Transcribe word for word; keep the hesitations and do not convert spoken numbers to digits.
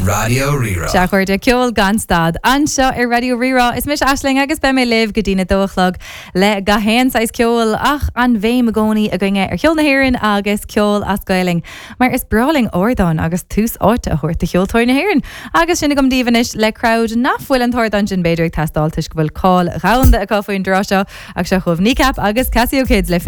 Raidió Rí-Rá. Sea, a chairde ceol gan stad. Anseo ar Raidió Rí-Rá is mise Aisling agus beidh mé libh go dtína dó a chlog le gach aon saghas ceoil ach an bhéim i gcónaí againne ar cheol na hÉireann agus ceol as Gaelainn, mar is breá linn ardán agus tús áite a thabhairt do cheoltóirí na hÉireann. Agus sin agam daoibh anois le crowd nach bhfuil an t-ardán sin b'fhéidir ag teastáil toisc go bhfuil cáil dhomhanda acu faoin dtráth seo ach seo chugaibh Kneecap agus Casio Kids le